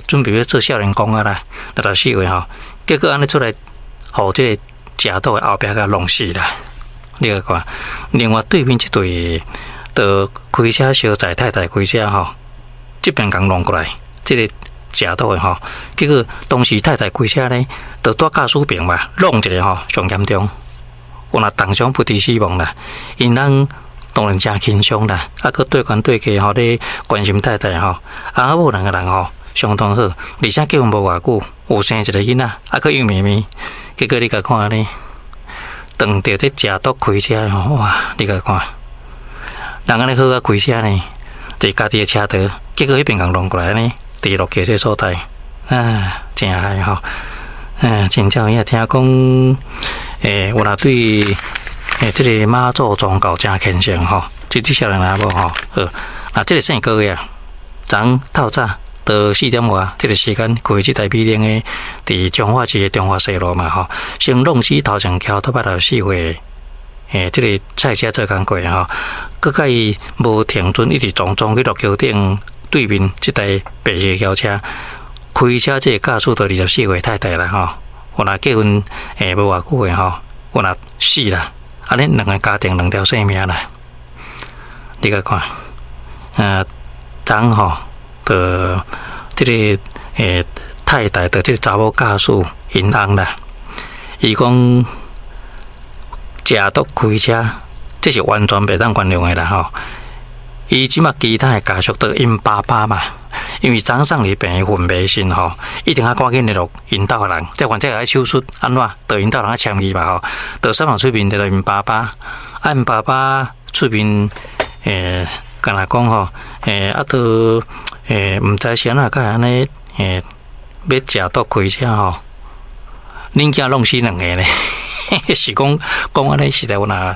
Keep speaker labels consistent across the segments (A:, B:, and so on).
A: 準備欲做少年宮啊啦，64歲吼，結果按呢出來，予這个食毒的後壁共弄死啦。你來看，另外對面這對，就開車相載太太開車吼，這邊共弄過來，這个食毒的吼，結果當時太太開車呢，就蹛駕駛爿嘛，弄一个吼，上嚴重，有若重傷不治死亡啦。𪜶翁當然誠輕鬆啦，啊，閣對懸對客吼咧關心太太吼，翁仔某兩个人吼相當好，而且結婚無偌久，有生一个囡仔，啊，閣幼咪咪，結果你共看呢，當著這食毒開車吼，哇！你共看，人按呢好啊開車呢，佇家己的車道，結果彼邊共弄過來呢，佇落橋這所在，啊，誠害吼，啊，真正有影聽講，有若對這个媽祖宗教誠虔誠吼，這對少年翁仔某吼，好，啊，這个姓郭的啊，昨昏透早到4點外，這个時間開這台美玲的，佇彰化市的中華西路嘛吼，先弄死頭前橋頭64歲，這个菜車做工課吼，閣共伊無停準，一直撞撞去陸橋頂對面這台白色轎車，開車這个駕駛就24歲太太啦吼，有若結婚無偌久的吼，有若死啦，按呢兩个家庭兩條性命啦，你共看，昨昏吼，就這个太太的這个查某駕駛𪜶翁啦，伊講食毒開車，這是完全袂當原諒的啦吼。伊這馬其他的家屬都𪜶爸爸嘛，因為昨送入病院昏迷時吼，一定愛趕緊聯絡𪜶兜的人，這患者愛手術按怎，就𪜶兜人愛簽字嘛吼，就三人出面就𪜶爸爸，啊𪜶爸爸出面敢若講吼，啊都毋知是按怎會按呢欲食毒開車吼，恁囝弄死兩个呢？是講講按呢，實在有若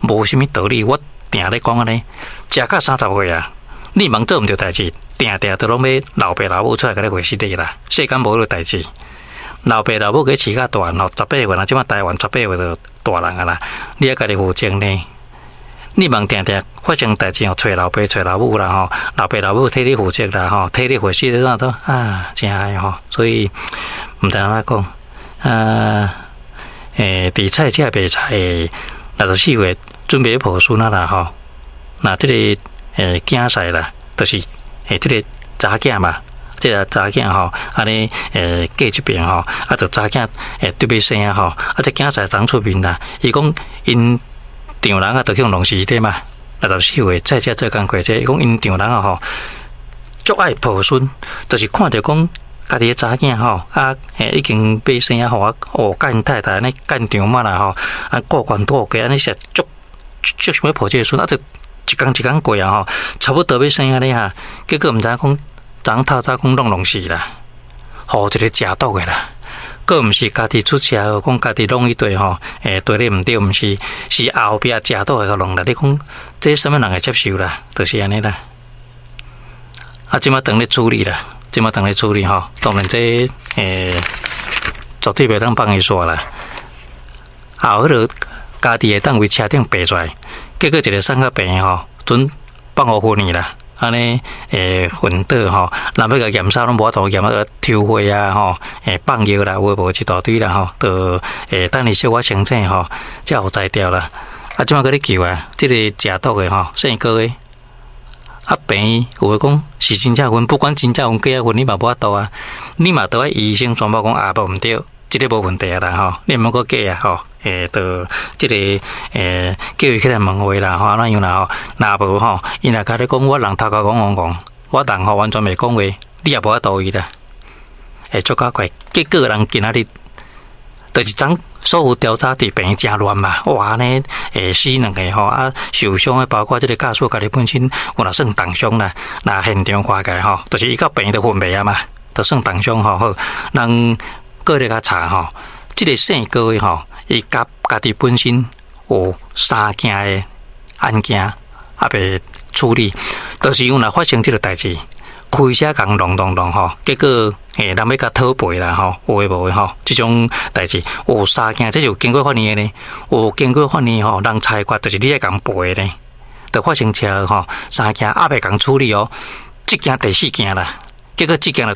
A: 無啥物道理。我定咧講按呢，食到30歲啊，你茫做毋著代誌，定定都攏欲老爸老母出來共你回事的啦。世間無彼个代誌，老爸老母給飼較大漢吼，十八歲啦，這馬台灣十八歲就大人啊啦，你愛家己負責呢。你茫定定發生代誌吼，揣老爸揣老母啦吼，老爸老母替你負責啦吼，替你回事啥都啊，誠害吼，所以毋知按怎講啊。佇菜市賣菜64歲準備抱孫仔啦吼，那這个囝婿啦，就是這个查囝嘛，這个查囝吼，按呢過這爿吼，啊，就查囝得欲生啊吼，啊，這囝婿昨出面啦，伊講𪜶丈人啊，就去弄死的嘛，64歲菜市做工課這，伊講𪜶丈人啊吼，足愛抱孫，就是看著講家己的查囝吼，啊，已經欲生啊，予我哦，佮𪜶太太按呢干場嘛啦吼，啊，顧懸顧低按呢是足足想欲抱這个孫，啊，就一工一工過啊吼，差不多欲生按呢哈，結果毋知影講，昨昏透早講攏弄死啦，予一個食毒的啦，閣毋是家己出車禍，講家己弄一對吼，對咧毋對，毋是，是後壁食毒的共弄啦。你講這啥物人會接受啦？就是按呢啦。啊，這馬當咧處理啦。這馬當咧處理吼，當然這絕對袂當放伊煞啦。後彼个家己會當為車頂爬出來，結果一个送到病院吼，準放予昏去啦。按呢昏倒吼，人欲共驗衫攏無法度驗啊，抽血啊吼，放藥啦，有的無一大堆啦吼，就等伊小可清醒吼，才有才調啦。啊，這馬閣咧救啊，這个食毒的吼，姓郭的。啊，病院有的講是真正昏，不管真正昏假昏，你嘛無法度啊，你嘛著愛醫生宣布講啊，無毋對，這个無問題啊啦吼，你毋好閣假啊吼，就這个叫伊起來問話啦吼，按怎樣啦吼，若無吼，伊若共你講我人頭殼戇戇戇，我人吼完全袂講話，你也無法度伊啦，會足較快，結果人今仔日就是昨所有調查佇病院誠亂嘛，哇按呢死兩个吼，啊受傷的包括這个駕駛家己本身有若算重傷啦，若現場看起來吼，就是伊到病院就昏迷啊嘛，就算重傷吼。好，人閣咧共查吼，這个姓郭的吼，伊家家己本身有三件的案件猶未處理，就是因為若發生這个代誌，開車共弄弄弄吼，結果人欲共討賠啦吼，有的無的吼，這種代誌有三件，這是有經過法院的呢，有經過法院吼，人裁決就是你愛共賠的呢，就發生車禍吼，三件猶未共處理哦，這件第四件啦，結果這件就